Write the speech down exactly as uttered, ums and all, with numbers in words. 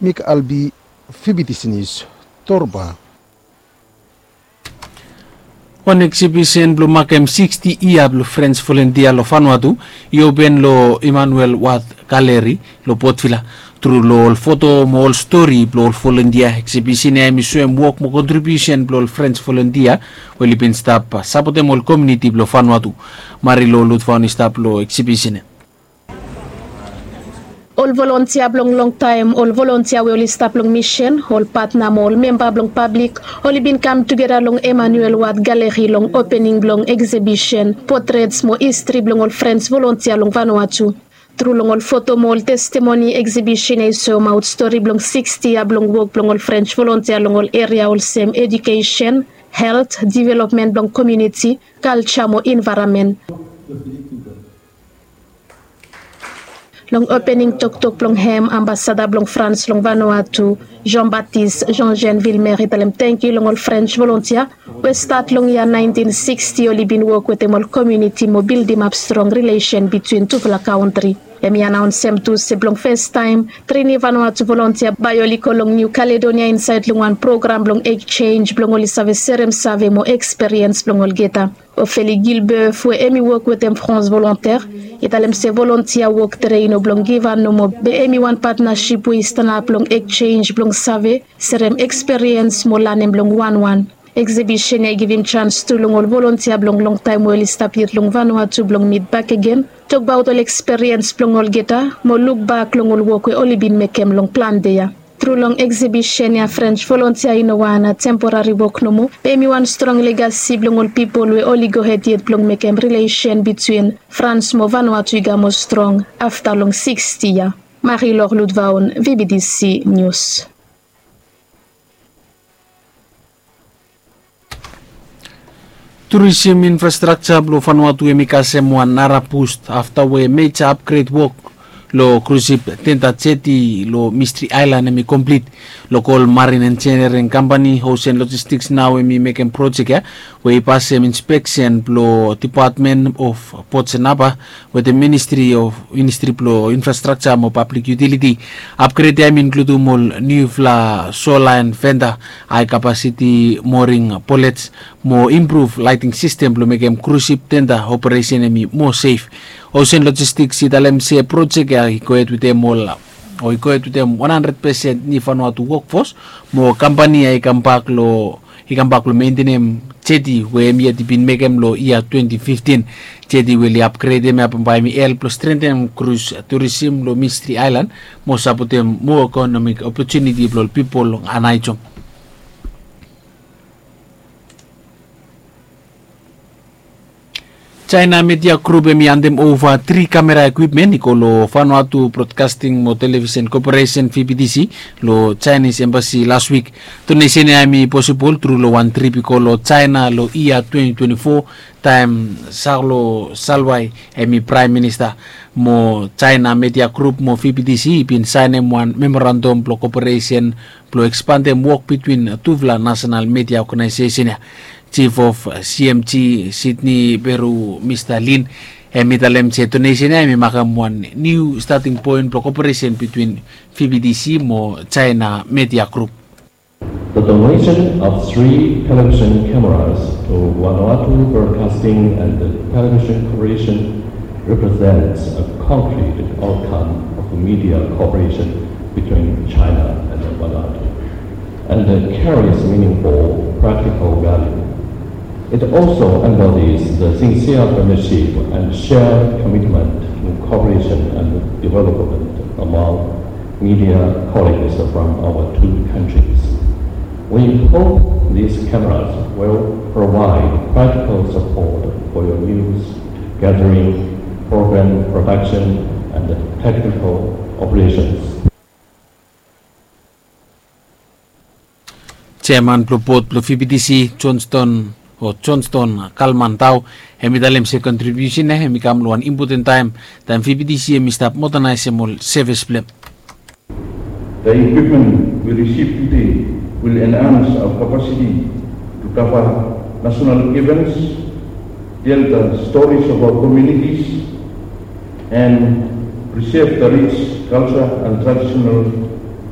Mik Albi, Fibitisi Nius, Torba. Wan eksibisen blong makem siksti yia blong Frens volontia long Vanuatu i open long Emmanuel Ward Gallery long Port Vila. Tru long ol foto mo ol stori blong ol volontia, eksibisen ya hem i soem wok mo kontribiusen blong ol Frens volontia we oli bin stap sapotem ol komuniti blong Vanuatu. Mari long Lutvaon i stap long eksibisen ya. Ol volontia blong longtaem, ol volontia we oli stap long misen, ol patna mo ol memba blong pablik, oli bin kam tugeta long Emmanuel Ward Gallery long opening blong eksibisen potrets mo histri blong ol Frens volontia long Vanuatu. Tru long ol foto mo ol testimoni, eksibisen ya i soemaot stori blong siksti yia blong wok blong ol Frens volontia long ol eria olsem edukesen, helt, developmen blong komuniti, kalja mo envaeronmen. Long opening toktok blong hem, ambasada blong Frans long Vanuatu, Jean-Baptiste Jean-Jean Vilmer, i talem tangkiu long ol Frens volontia we stat long yia naentin siksti oli bin wok wetem ol komuniti mo bildimap strong rilesen bitwin tufala kantri. Hem i anaonsem tu se blong fastaem tri niu Vanuatu volontia bae oli go long Niu Kaledonia insaed long wan program blong ekjenj blong oli save serem save mo eksperiens blong olgeta. Ophélie Gilbeuf we hem i wok wetem France Volontaire i talem se volontia wok tre i no blong givhan nomo, be hem i wan patnasip we i stanap long ekjenj blong save, serem eksperiens mo lanem long wanwan. Eksibisen ya i givim jans tu long ol volontia blong longtaem we oli stap yet long Vanuatu blong mit bakegen, tokbaot ol eksperiens blong olgeta mo lukbak long ol wok we oli bin mekem long plante ya. Tru long eksibisen ya, Frens volontia i no wan temporari wok nomo, be hem i wan strong legasi blong ol pipol we oli gohed yet blong mekem rilesen bitwin Frans mo Vanuatu i kam moa strong afta long siksti yia. Marie-Laure Lutvaon, Fibitisi Nius. Turisim infrastrakja blong Vanuatu hem i kasem wan nara bust afta we meja apgred wok long krusip tenda jeti long Mystery Island hem i komplit. Lokol marin enjiniring kampani Ocean Logistics nao hem i mekem projek ya we i pasem inspeksen blong Department of Ports and Harbour wetem Ministri of, Ministri blong Infrastrakja mo Pablik Yutiliti. Apgred ya hem i inkludum ol niufala solaen fenda, hae kapasiti moring bolets mo impruv laeting sistem blong mekem krusip tenda operesen hem i moa sef. Ocean Logistics i talem se projek ya i gohed wetem ol, o i gohed wetem wan handred pesen niu Vanuatu wokfos, mo kampani ya i kambak long i kambak long mentenem jeti we hem yet i bin mekem long yia twenti fiftin. Jeti we oli apgredem ya bambae hem i help long strengtenem krus turisim long Mystery Island mo sapotem moa ekonomik opotuniti blong ol pipol long Aneityum. China Media Group hem i handem ova tri kamera ekwipmen i go long Vanuatu Broadcasting mo Television Corporation, V B T C, long Chinese Embassy las wik. Donesen ya hem i posibol tru long wan trip i go long China long yia twenti twenti fo, taem Saulo Salwai hem i Praem Minista. Mo China Media Group mo V B T C i bin saenem wan memorandum blong koperesen blong ekspandem wok bitwin tufala nasenal media oganaesesen ya. Chief of C M G Sydney Peru, Mista Lin, hem i talem se donesen ya hem i makem wan niu stating poen blong koperesen bitwin V B T C mo China Media Group. The donation of three television cameras to Vanuatu Broadcasting and Television Corporation represents a concrete outcome of media cooperation between China and Vanuatu, and carries meaningful practical value. It also embodies the sincere friendship and shared commitment to cooperation and development among media colleagues from our two countries. We hope these cameras will provide practical support for your news gathering, program production, and technical operations. Jeaman blong bod blong V B T C, Johnston, o Johnston Kalman Tao, hem i talem se kontribiusen ya hem i kam long wan impoten taem, taem V B T C hem i stap modernaesem ol sevis blong hem. The equipment we received today will enhance our capacity to cover national events, tell the stories of our communities, and preserve the rich culture and traditional